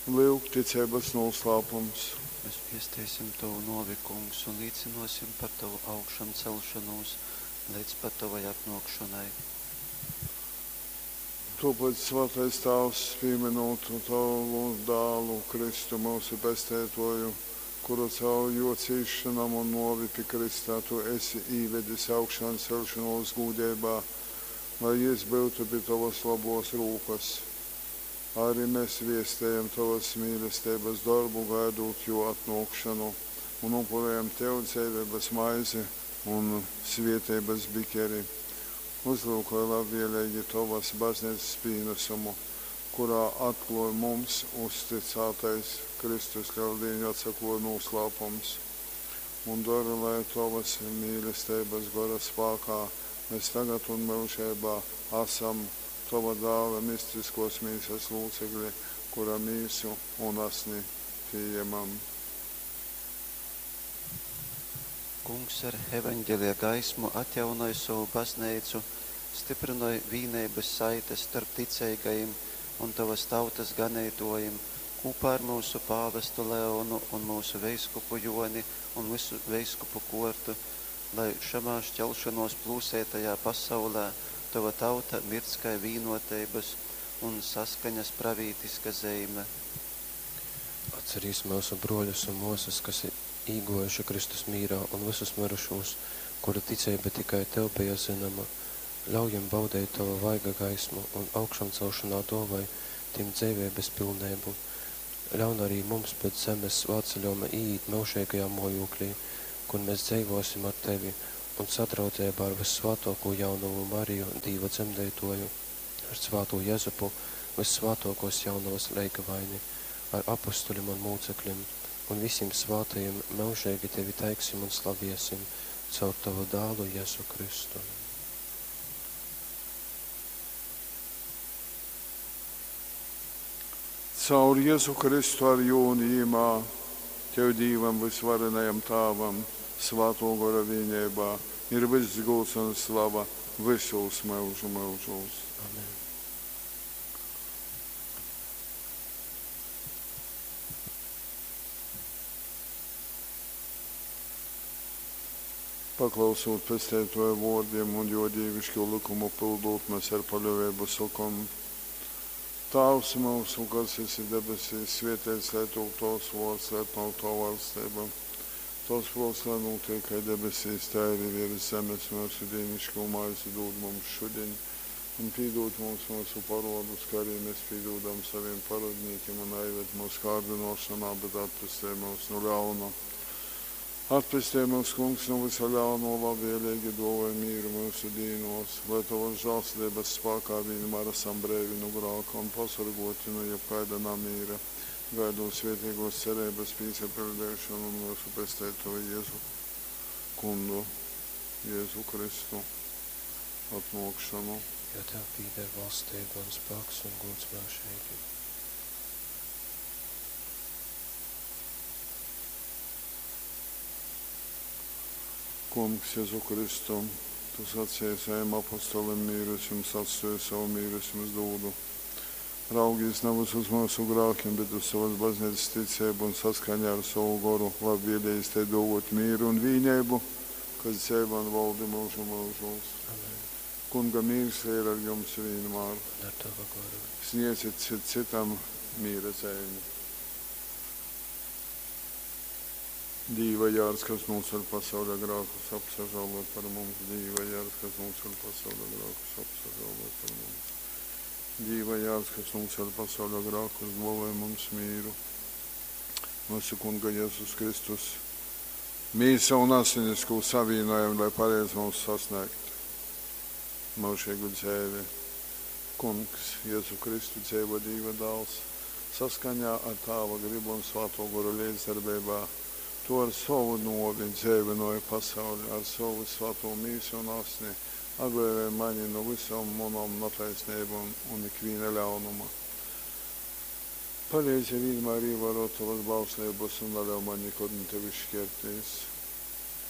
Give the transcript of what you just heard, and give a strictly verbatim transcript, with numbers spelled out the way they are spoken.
Lyuk, ticeibas nūslāpums. Mēs viesteisim Tovu nōvi, Kungs, un līcynōsim par Tovu augšamceļšonūs leidz pat Tovai atnōkšonai. Tōpēc, svātais Tāvs, pīmynūt Tovu Dālu, Kristu, myusu Pesteitōju, kuru caur Jō cīsšonom un nōvi pi krysta Tu esi īvedis augšanceļšonōs gūdeibā, lai Jys byutu pi Tovas lobōs rūkas, ari mes viestejam Tovas mīlesteibas dorbu, gaidūt Jō atnōkšonu, un upurejam Tev dzeiveibas maizi un svieteibas bikeri. Uzlyukoj labvieleigi Tovas Bazneicas pīnasumu, kurā atklōj mums uztycātais Kristus Leldīņu atsaklōj nūslāpums, un dori, lai Tovas mīlesteibas Gora spākā mes tagad un myužeibā asam Tova Dāla mistiskōs mīsas lūcekli, kura mīsu un asni pījemam. Kungs ar evaņgelija gaismu atjaunoj sovu Bazneicu, styprynoj vīneibas saites storp ticeigajim un Tovas tautas ganeitōjim kūpā ar myusu pāvestu Leonu un myusu veiskupu Jōni un vysu veiskupu kōrtu, lai šamā šķelšanōs plūseitajā pasaulē Tova tauta mirdz kai vīnōteibas un saskaņas pravītiska zeime. Atcerīs myusu brōļus un mōsas, kas ir īgōjuši Kristus mīrā, un vysus myrušūs, kuru ticeiba tikai Tev beja zynoma. Ļauj jim baudeit Tova vaiga gaismu un augšamcelšonā dōvoj tim dzeiveibas pilneibu. Ļaun arī mums pēc zemes svātceļōjuma īīt myužeigajā mōjūklī, kur mes dzeivōsim ar Tevi un sadraudzeibā ar vyssvātōkū jaunovu Mariju, Dīva dzemdeitōju, ar svātū Jezupu, vyssvātōkōs jaunovas leigavaini, ar apustulim un mūceklim, un visim svātajim myužeigi Tevi teiksim un slaviesim caur Tovu Dālu Jezu Kristu. Caur Jezu Kristu ar Jū un Jymā, Tev, Dīvam vysvarenajam Tāvam, Svātō Gora vīneibā, ir vyss gūds un slava vysūs myužu myužūs. Amen. Paklausūt Pesteitōja vōrdim un Jō dīviškū lykumu pyldūt, mes ar paļōveibu sokom: Tāvs myusu, kas esi debesīs, svēteits lai top Tovs vōrds, lai atnōk Tova vaļsteiba. Tovs prōts lai nūtiek kai debesīs, tai arī virs zemes. Myusu dīniškū maizi dūd mums šudiņ, un pīdūd mums myusu parōdus, kā arī mēs pīdūdam saviem parōdnīkim, un naieved mūsu kārdinošanā, bet atpestej mūs no ļauna. Atpestej mūs, Kungs, no visa ļauno, labvēlīgi dāvāj mīru mūsu dīnos, lai Tavas žēlsirdības spēkā vienmēr esam breivi no grāka un pasargoti no jebkaida namīra, gaidot svētīgos cerības pīsapildīšanu un mūsu Pesteitoju Jēzu Kungu, Jēzu Kristu atnākšanu. Jo Tev pīder valstība un spēks un gods myužīgi. Kungs, Jēzu Kristu, Tu sacīji saviem apostolim, mīru es jums atstāju, savu mīru es jums dodu. Raugīs nevis uz mūsu grākiem, bet uz savas baznīcas ticību un saskaņā ar savu goru labvēlījis te dot mīru un vīneibu, kas dzeivo un valdi mūžu mūžos. Amen. Kunga mīrs lai ir ar jums vienmēr. Un ar Tavu goru. Sniedzit cit citam mīra zīmi. Dīva jārs, kas nūceļ pasaules grākus, apsažālo par mums. Dīva jārs, kas nūceļ pasaules grākus, apsažālo par mums. Dīva jārs, kas nūceļ pasaules grākus, dāvāj mums mīru. Mūsu Kunga Jēzus Kristus mīsa un asinis, ko savienojam, lai pareizi mums sasniegt mūžīgu dzīvi. Kungs, Jēzu Kristu dzīvo Dīva dāls, saskaņā ar Tāva gribu un Svāto Goru līdzdarbībā, tu ar savu novi dzīvinoji pasauli, ar savu svāto mīsu un asni, atbrīvoji mani no visām manām netaisnībām un ikviena ļaunuma. Palīdzi vienmēr ievērot tavas bauslības un neļauj man nekad no tevis šķirties.